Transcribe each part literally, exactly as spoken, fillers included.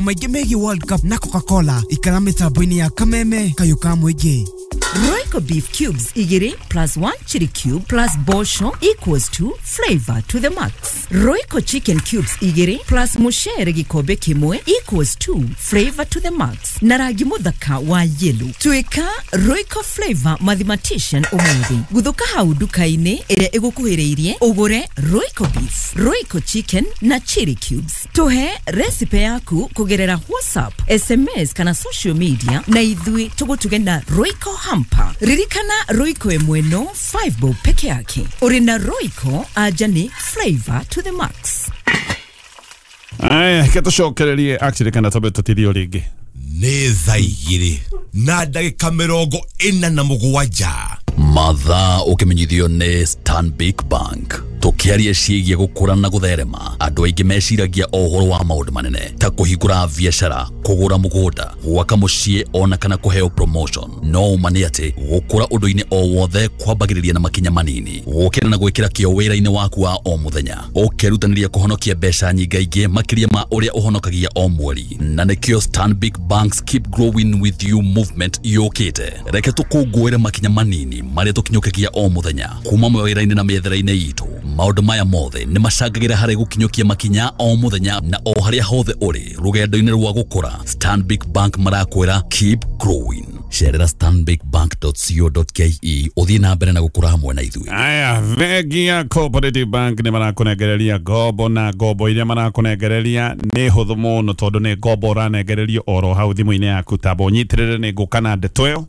Maingĩ megiĩ World Cup na Coca-Cola ikara mĩtambo-inĩ ya Kameme kayũ ka mũingĩ. Royco beef cubes igiri plus one chili cube plus bosho equals to flavor to the max. Royco chicken cubes igiri plus mushere gikombe kimwe equals to flavor to the max. Na rangi muthaka wa yellow. Tuika Royco flavor mathematician umuthi. Guthuka hau nduka-inĩ ĩrĩa ĩgũkuhĩrĩirie ũgũre Royco beef, Royco chicken na chili cubes. Tuhe recipe yaku kugerera WhatsApp, S M S kana social media na ithui tugutuge na Royco hamper. Ririkana Royco ĩmwe no five bob peke yake. Uri na Royco aja ni flavor to the max. Aya, ketucokererie actually kana tobe tutirio ringi. Nĩ thaa igĩrĩ na ndagĩka mĩrongo ĩna na mũgwanja. Mathaa ũkĩmenyithio nĩ Stanbic Bank. Tũkĩaria ciĩgiĩ gũkũra na gũtherema, andũ aingĩ meciragia o ũhoro wa maũndũ manene ta kũhingũra biacara, kũgũra mũgũnda, gwaka mũciĩ ona kana kũheo promotion. No ũma nĩ atĩ gũkũra ũndũ-inĩ o wothe kwambagĩrĩria na makinya manini, gũkĩra na gwĩkĩra kĩo wĩra-inĩ waku wa o mũthenya, ũkerutanĩria kũhonokia mbeca nyingaingĩ makĩria ma ũrĩa ũhonokagia o mweri. Na nĩkĩo Stanbic Bank's Keep Growing With You movement yũkĩte. Reke tũkũngũĩre makinya manini marĩa tũkinyũkagia o mũthenya kuma mawĩra-inĩ na mĩethere-inĩ itũ. Maũndũ maya mothe nĩ macangagĩra harĩ gũkinyũkia makinya o mũthenya na o harĩa hothe ũrĩ rũgendo-inĩ rwa gũkũra. Stanbic Bank marakwĩra keep growing. Cerera stanbic bank dot co dot ke ũthiĩ na mbere na gũkũra hamwe na ithuĩ. Aya, bengi ya Cooperative Bank nĩ marakũnengereria ngombo na ngombo iria marakũnengereria nĩ hũthũ mũno tondũ nĩ ngombo ũranengererio oro hau thimũ-inĩ yaku. Tamba ũnyitĩrĩre nĩ ngũka na ndeto ĩyo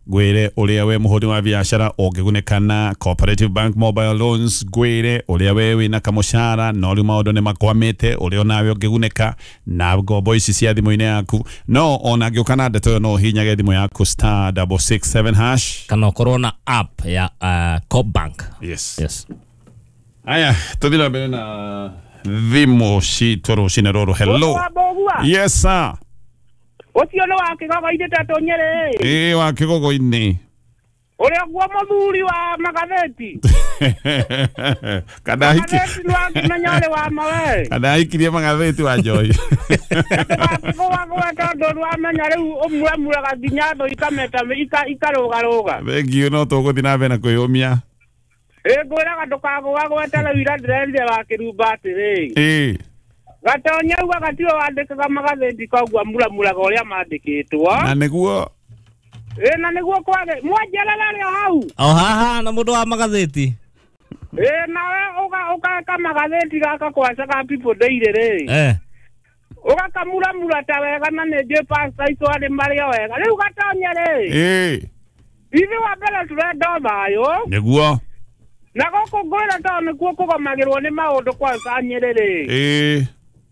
ngwire uria we muhuri wa biashara ũngĩgunĩka na Cooperative Bank Mobile Loans, ngwire uria we wina kamushara no riu maũndũ nĩ makwamĩte uria onawe ũngĩgunĩka na ngombo ici cia thimũ-inĩ yaku. No ona ngĩũka na ndeto ĩyo no ũhihinyage thimũ yaku star double six seven hash kana ũkorwo na app ya uh, Coop Bank. Yes. Yes. Aya, tũthiĩ na mbere na thimũ citũ rũcinĩ rũrũ. Hello. Yes sir. Ucio nĩ wa kĩgogo-inĩ Tatũ Nyerĩ. Ĩĩ wa kĩgogo-inĩ. Ũrĩa guo mũthuri wa magathĩti. Kana hiki. Magathĩti nĩ wakĩmenya ũrĩ wa ma we. Kana hikirie magathĩti wa Joy. Wakĩgũagũa tondũ nĩwamenya rĩu ũmuramuraga nginya thũ ikameta ikarũgarũga. Thengiũ, no tũgũthiĩ na mbere na kwĩyũmia. Ĩĩ ngwĩraga ndũkagũagũe ta rĩu ira ndĩrerire wa Kĩrumba atĩrĩ. Ĩĩ. Gatonya ugaga tiwe wandĩkaga magathĩti koguo amuramuraga ũrĩa mandĩkĩtwo. Na nĩguo. Ĩĩ na nĩguo kwage mwanjerera rĩ o hau. O haha na mũndũ wa magathĩti. Ĩĩ nawe ũgeka magathĩti gaka kwaca ka People Daily rĩ. Eh. Ũgakamuramura ta wega na nĩ njũĩ pastor aitũ arĩ marĩ o wega. Rĩu Gatonya rĩ. Ĩĩ. Ithuĩ wa mbere tũrenda thayũ. Nĩguo. Na gũkũ ngwĩra tondũ nĩkuo kũgomagĩrwo nĩ maũndũ kwanza Nyĩrĩ rĩ. Ĩĩ.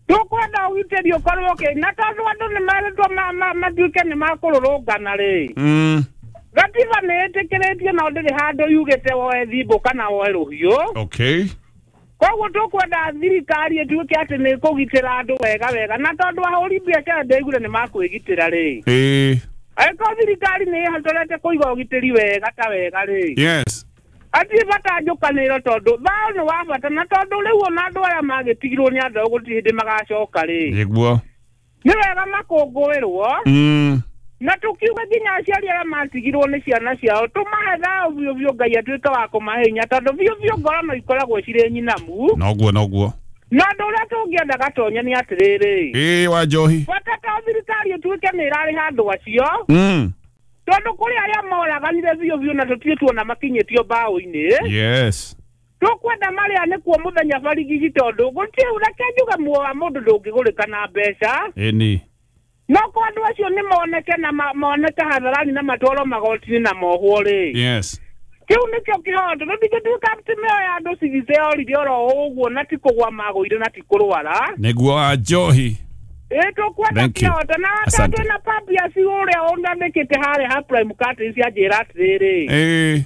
Tukwenda ũgitĩri ũkorwo ũkĩ na tondũ andũ nĩ merĩtwo matuĩke nĩ makũrũrũngana rĩ. Gatiba nĩ ĩtĩkĩrĩtie no ndĩrĩ handũ yugĩte woe thimbũ kana woe rũhiũ. Okay. Koguo tũkwenda thirikari ĩtuĩke atĩ nĩ ĩkũgitĩra andũ wega wega na tondũ ahũri biacara ndĩraiguire nĩ makwĩgitĩra rĩ. Ĩĩ. Angĩkorwo thirikari nĩ ĩhotorete kũiga ũgitĩri wega ta wega rĩ. Yes. Hatirĩ bata njũkanĩro tondũ thayũ nĩ wa bata na tondũ rĩu ona andũ aya magĩtigirwo nĩ andũ gũtirĩ hĩndĩ magacoka rĩ. Nĩguo. Nĩ wega makũngũĩrwo. Mm. Na tũkiuga nginya aciari arĩa matigirwo nĩ ciana ciao tũmahe thayũ biũ biũ Ngai atuĩke wa kũmahe hinya tondũ biũ biũ ngoro no ikoragwo cirĩ nyinamu. Noguo noguo. Na ũndũ ũrĩa tũngĩenda Gatonya nĩ atĩrĩrĩ. Ĩĩ wa Njohi. Bata ta thirikari ĩtuĩke nĩ ĩrarĩha andũ acio. Mm. Tondũ kũrĩ arĩa moraganire biũ biũ na tũtirĩ tuona makinyĩtio mbaũ-inĩ. Yes. Tũkwenda marĩa nĩkuo mũthenya barigici tondũ gũtirĩ reke njuge muoyo wa mũndũ ndũngĩgũrĩka na mbeca. Ĩni. No kwa andũ acio nĩ moneke na moneke hadharani na matwarwo magoti-inĩ na mohwo rĩ. Yes. Kĩu nĩkĩo kĩhoto tũtingĩtuĩka atĩ mĩoyo ya andũ cigice yorire oro ũguo na ti kũgwa magũire na ti kũrwara. Nĩguo wa Njohi. Ĩĩ tũkwenda kĩhoto na tondũ na Papias ũrĩa ũnandĩkĩte harĩa ha Prime Curtains anjĩra atĩrĩrĩ. Ĩĩ.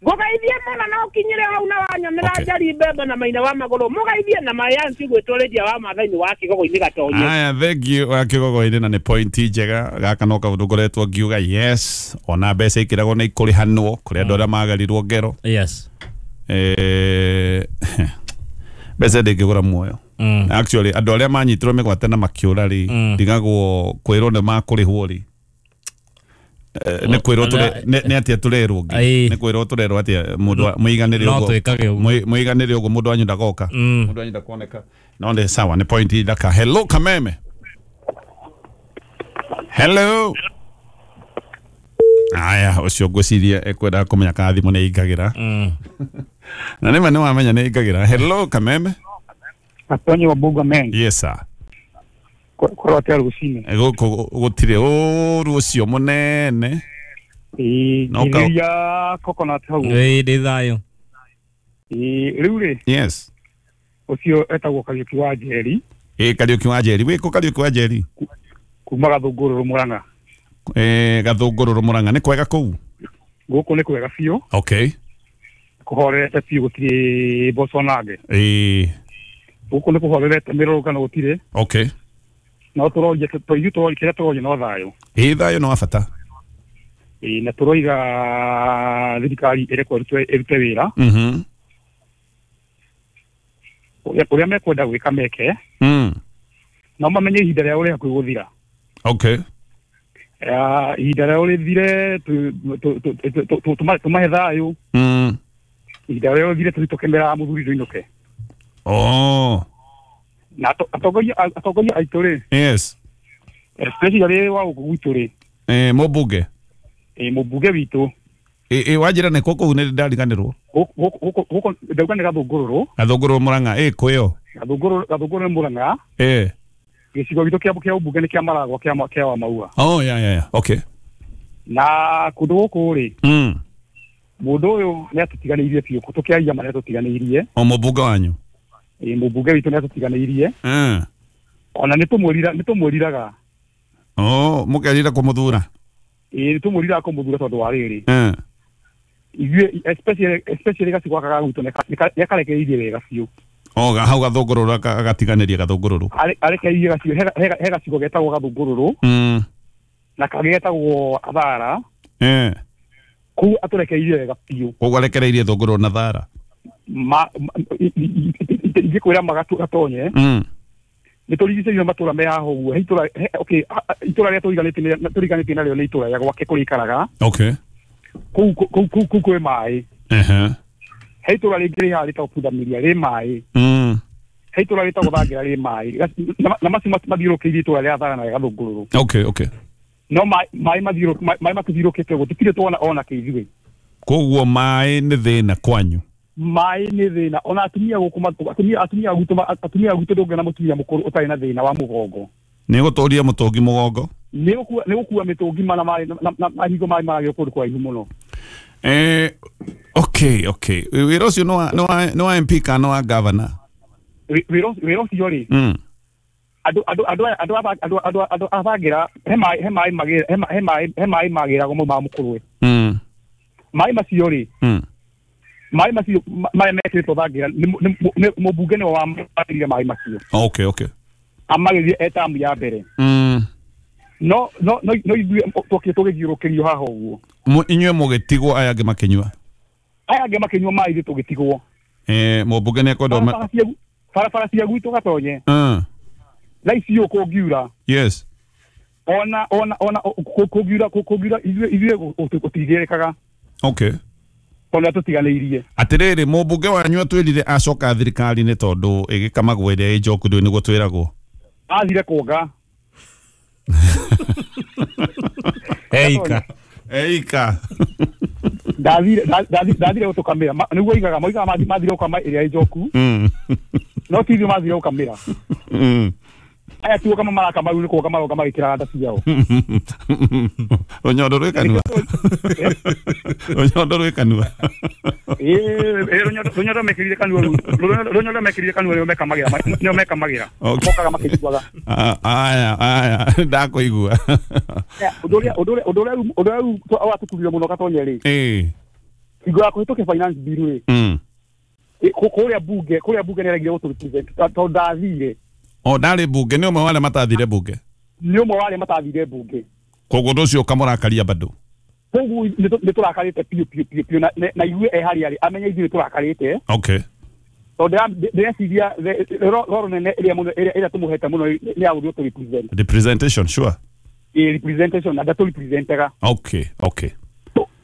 Ngũgeithie mũno na ũkinyĩre hau na wanyonera njari mbembe na maina wa magũrũ mũgeithie na mayansi gwĩtũrĩria wa Maathai wa kĩgogo-inĩ Gatonye. Aya, thank you wa kĩgogo-inĩ na nĩ point njega gaka no kaũndũ ngoretwo ngiuga yes ona mbeca ikĩragwo nĩ ikũrĩhanwo kũrĩ andũ arĩa magarirwo ngero. Yes. Eh mbeca ndĩngĩgũra muoyo. Actually andũ arĩa manyitirwo mĩgwate na makĩũra rĩ ndigagwo kwĩrwo nĩ makũrĩhwo rĩ. Nĩ kwĩrwo tũre nĩ atĩa tũrerwo ngĩ nĩ kwĩrwo tũrerwo atĩa mũndũ mũiganĩre ũguo mũiganĩre ũguo mũndũ wanyu ndagoka mũndũ wanyu ndakoneka no nĩ sawa nĩ point ithaka. Hello Kameme. Hello. Aya ũcio ngwĩciria ekwenda kũmenya kana thimũ nĩ ĩingagĩra na nĩma nĩ wamenya nĩ ĩingagĩra. Hello Kameme. Atonyi wa Buga men. Yes sir. Korwo atĩa rũcinĩ? Gũkũ gũtirĩ ũru ũcio mũnene. Ĩĩ ngirĩria coconut hau. Ĩĩ ndĩ thayũ. Ĩĩ rĩu rĩ. Yes. Ũcio etagwo Kariũki wa Njeri. Ĩĩ Kariũki wa Njeri. Wĩ kũ Kariũki wa Njeri? Kuma Gathũngũrũrũ Mũrang'a. Eh Gathũngũrũrũ Mũrang'a nĩ kwega kũu? Gũkũ nĩ kwega biũ. Okay. Kũhorerete biũ gũtirĩ mboco nange. Ĩĩ. Gũkũ nĩ kũhorerete mĩrũrũngano gũtirĩ. Okay. No tũroria ithuĩ tũroria kĩrĩa tũroria no thayũ. Ĩĩ thayũ no wa bata. Ĩĩ na tũroiga thirikari ĩrekwo ĩrute wĩra. Mhm. Ũrĩa mekwenda gwĩka meke. Mm. No mamenye ihinda rĩao rĩ hakuhĩ gũthira. Okay. Ihinda rĩao rĩthire tũmahe thayũ. Mm. Ihinda rĩao rĩthire tũhĩtũke mũthuri ndũinũke. Oh. Na atongoria atongoria aitũ rĩ. Yes. Especially wa gũkũ gwitũ rĩ. Eh mũmbunge. Eh mũmbunge witũ. Eh eh wanjĩra nĩ kũ kũu nĩ ndariganĩrwo. Gũkũ gũkũ ndauga nĩ Gathũngũrũrũ. Gathũngũrũrũ Mũrang'a ĩ kwĩyo. Gathũngũrũrũ Gathũngũrũrũ nĩ Mũrang'a. Eh. Gĩcigo gitũ kĩa kĩa ũmbunge nĩ kĩa Maragwa kĩa kĩa wa Maua. Oh yeah yeah yeah. Okay. Na kũndũ gũkũ rĩ. Mm. Mũndũ ũyũ nĩ atũtiganĩirie biũ tũkĩaria ma nĩ atũtiganĩirie. O mũmbunge wanyu. Ĩ mũmbunge witũ nĩ atũtiganĩirie. Mm. Ona nĩ tũmwĩrira nĩ tũmwĩriraga. Oh, mũkerira kũmũthura. Ĩ nĩ tũmwĩriraga kũmũthura tondũ wa rĩrĩ. Mm. Ithuĩ especially especially gacigo gaka ga gwitũ nĩ akarekereirie wega biũ. Oh, hau Gathũngũrũrũ agatiganĩria Gathũngũrũrũ. Arekereirie gacigo he gacigo getagwo Gathũngũrũrũ. Mm. Na kangĩ getagwo Athara. Eh. Kũu atũrekereirie wega biũ. Koguo arekereirie Thũngũrũrũ na Thara. Ma ingĩkwĩra magatonye. Mm. Nĩ tũrigicĩirio matũra me haha ũguo. He itũra okay itũra rĩrĩa tũriganĩtie tũriganĩtie narĩo nĩ itũra rĩa gwake kũrĩa aikaraga. Okay. Kũu kũu kũu kwĩ maĩ. Ehe. He itũra rĩngĩ rĩ haha rĩtagwo Pundamilia rĩ maĩ. Mm. He itũra rĩtagwo Thangira rĩ maĩ. Na macio mathiũrũkĩirie itũra rĩa Thara na rĩa Gathũngũrũrũ. Okay, okay. No maĩ maĩ maĩ matithiũrũkĩte ũguo tũtirĩ tuona ona kĩ ithuĩ. Koguo maĩ nĩ thĩna kwanyu. Maĩ nĩ thĩna ona atumia gũkũ atumia atumia gwitũ atumia gwitũ ndũngĩona mũtumia mũkũrũ ũtarĩ na thĩna wa mũgongo. Nĩ gũtũria mũtũngi mũgongo? Nĩ gũkua nĩ gũkua mĩtũngi mana maĩ na hingo maĩ maragĩrwo kũndũ kũraihu mũno. Eh okay okay. Wĩra ũcio nĩ wa nĩ wa M P kana wa governor? Wĩra ũcio rĩ. Mm. Andũ andũ andũ andũ andũ andũ andũ abangĩra he maĩ he maĩ magĩra he maĩ he maĩ magĩragwo mau ma mũkũrwe. Mm. Maĩ macio rĩ. Mm. Maĩ macio marĩa mekĩrĩtwo Thangira nĩ mũmbunge nĩwe wamagĩrire maĩ macio. Okay okay. Amagĩrire e tamu ya mbere. Mm. No no no no ithuĩ twokire tũgĩthiũrũkĩrio haha ũguo. Inyuĩ mũgĩtigwo aya angĩ makĩnyua. Aya angĩ makĩnyua maĩ ithuĩ tũgĩtigwo. Eh mũmbunge nĩ ekwenda barabara cia gwitũ Gatonye. Mm. Thaa ici ũũ kũngiura. Yes. Ona ona ona kũngiura kũngiura ithuĩ ithuĩ gũtigĩrĩkaga. Okay. Tondũ atũtiganĩirie. Atĩrĩrĩ mũmbunge wanyu atwĩrire acoka thirikari-inĩ tondũ ĩgĩkamagwo ĩrĩa ĩ njoku ndũĩ nĩguo twĩragwo. Athire kuonga. Eika. Eika. Ndathire ndathire gũtũkamĩra nĩguo oigaga moigaga mathire gũkama ĩrĩa ĩ njoku. No ti ithuĩ mathire gũkamĩra. Aya ti gũkama marakama rĩu nĩ kuonga maronga magĩkĩraga nda ciao. Rũnyondo rwĩ kanua. Rũnyondo rwĩ kanua. Ĩĩ rũnyondo mekĩrire kanua rĩu rũnyondo mekĩrire kanua nĩo mekamagĩra nĩo mekamagĩra mokaga makĩiguaga. Aya aya ndakũigua. Ũndũ ũrĩa ũndũ ũrĩa ũndũ ũrĩa ũndũ ũrĩa watũturire mũno Gatonye rĩ. Ĩĩ. Hingo ya kũhĩtũkia finance bill rĩ. Mm. Kũrĩa bunge kũrĩa bunge nĩ aregire gũtũ-represent tondũ ndathire. O ndarĩ bunge nĩ ũmwe wa arĩa matathire bunge. Nĩ ũmwe wa arĩa matathire bunge. Koguo ũndũ ũcio ũkamũrakaria bado. Koguo nĩ tũrakarĩte biũ biũ biũ biũ na ithuĩ e harĩa arĩ amenye ithuĩ nĩ tũrakarĩte. Okay. Tondũ ndĩreciria roro nene ĩrĩa mũno ĩrĩa tũmũhete mũno nĩ ya gũthiĩ represent. Representation, sure. Ĩ representation na ndatũ representaga. Okay, okay.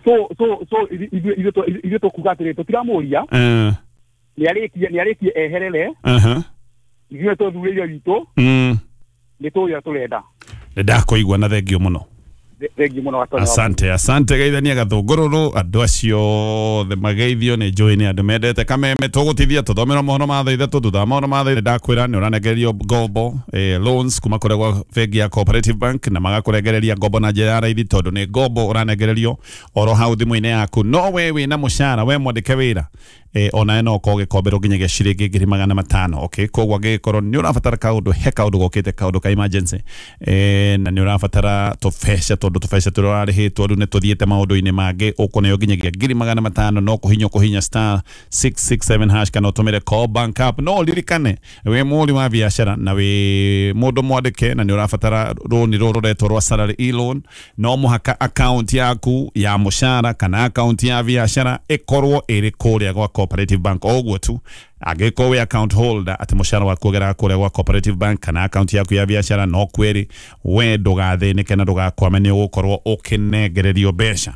So so so ithuĩ ithuĩ tũkuga atĩrĩ tũtiramũria. Eh. Nĩ arĩkie nĩ arĩkie eherere. Uh-huh. Ithuĩ tũthurĩire witũ. Mm. Nĩ tũũria tũrenda. Nĩ ndakũigua na thengio mũno. Thengiũ mũno Gatonya. Asante, asante geithania gathũngũrũrũ andũ acio othe mageithio nĩ njũĩ nĩ andũ mendete Kameme. Tũgũtithia tũthomerwo mohoro ma thaa ithatũ, thutha wa mohoro ma thaa ndakwĩra nĩ ũranegererio ngombo eh, loans kuma kũrĩa gwa bengi ya Cooperative Bank na magakũrengereria ngombo na njĩra ya raithi tondũ nĩ ngombo ũranegererio oro hau thimũ-inĩ yaku. No we wĩna mũcara, we mwandĩke wĩra eh, onawe no ũkorwo ũgĩkomberwo nginyagia ciringi ngiri magana matano. Okay, koguo angĩgĩkorwo nĩ ũrabatara kaũndũ, he kaũndũ gokĩte kaũndũ ka emergency eh, na nĩ ũrabatara tũbeca tondũ tũbeca tũrĩa ũrarĩhĩtwo rĩu nĩ tũthiĩte maũndũ-inĩ mangĩ, ũkũneo nginyagia ngiri magana matano no kũhinya kũhinya star six six seven hash kana ũtũmĩre Call Bank app. No ũririkane wĩ mũhũri wa biacara na wĩ mũndũ mwandĩke na nĩ ũrabatara rũni rũrũ rũretwo rwa salary e-loan, no mũhaka account yaku ya mũcara kana account ya biacara ĩkorwo ĩrĩ kũrĩa gwa Cooperative Bank. O ũguo tu angĩkorwo wĩ account holder atĩ mũcara waku ũgeraga kũrĩa gwa Cooperative Bank kana account yaku ya biacara, no kwĩrĩ we ndũgathĩnĩke na ndũgakwame, nĩ ũgũkorwo ũkĩnengererio mbeca.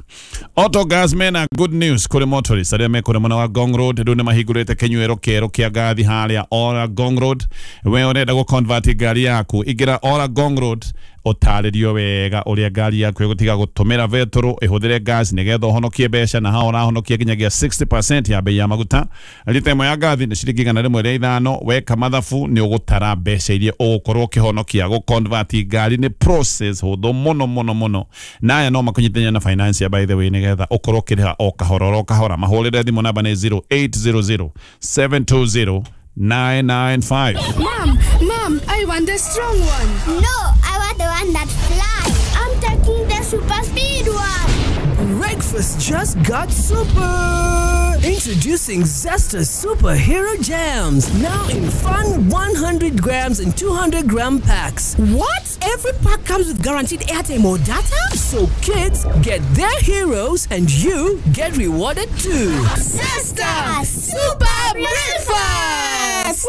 Autogas mena good news kũrĩ motorists arĩa me kũrĩa mwena wa Ngong Road. Rĩu nĩ mahingũrĩte kĩnyuĩro kĩerũ kĩa ngathi harĩa Ora Ngong Road. We ũrenda gũ-convert ngari yaku, ingĩra Ora Ngong Road ũtarĩrio wega ũrĩa ngari yaku ĩgũtiga gũtũmĩra betũrũ ĩhũthĩre gas nĩgetha ũhonokie mbeca, na hao ũrahonokia nginyagia sixty percent ya bei ya maguta. Rita ĩmwe ya ngathi nĩ ciringi igana rĩmwe rĩa ithano. Weka mathabu nĩ ũgũtara mbeca iria ũgũkorwo ũkĩhonokia. Gũ-convert ngari nĩ process hũthũ mũno mũno mũno, na aya no makũnyitithania na finance by the way nĩgetha ũkorwo ũkĩrĩha o kahora o kahora. Mahũrĩre thimũ namba nĩ zero eight zero zero seven two zero nine nine five. Mom, Mom, I want the strong one. No, I want the one that flies. I'm taking the super speed one. Breakfast just got super. Introducing Zesta Superhero Jams, now in fun one hundred grams and two hundred gram packs. What? Every pack comes with guaranteed airtime or data? So kids get their heroes and you get rewarded too. Zesta Super Breakfast!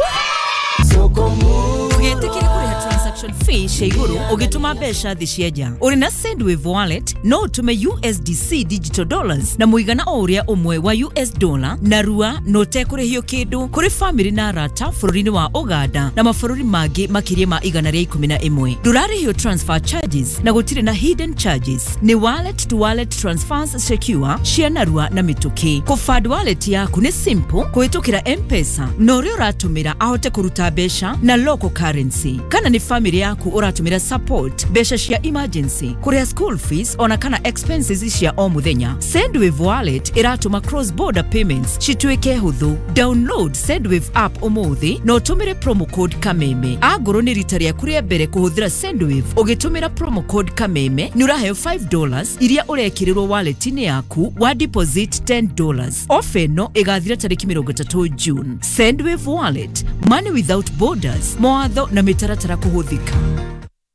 Ũgĩtĩkĩra kũrĩha transaction fee cia igũrũ ũgĩtũma mbeca thĩ cia nja. Ũrĩ na Sendwave wallet no ũtũme U S D C digital dollars na mũigana o ũrĩa ũmwe wa U S dollar na rua na ũtekũrĩhio kĩndũ kũrĩ famĩlĩ na arata bũrũri-inĩ wa Uganda na mabũrũri mangĩ makĩria ma igana rĩa ikũmi na ĩmwe. Ndũrarĩhio transfer charges na gũtirĩ na hidden charges. Nĩ wallet to wallet transfers secure cia narua na mĩtũkĩ. Kũfund wallet yaku nĩ simple kũhĩtũkĩra M-Pesa na ũrĩa ũratũmĩra ahote kũruta mbeca na local currency. Kana nĩ family yaku ũratũmĩra support mbeca cia emergency, kũrĩha school fees ona kana expenses cia o mũthenya. Sendwave wallet ĩratũma cross border payments cituĩke hũthũ. Download Sendwave app ũmũthĩ na ũtũmĩre promo code Kameme. Angorwo nĩ rita rĩaku rĩa mbere kũhũthĩra Sendwave ũgĩtũmĩra promo code Kameme nĩ ũraheo five dollars iria ũrekĩrĩrwo wallet-inĩ yaku wa deposit ten dollars. Ofa ĩno ĩgathira tarĩki mĩrongo ĩtatũ June. Sendwave wallet, money without borders. Mawatho na mĩtaratara kũhũthĩka.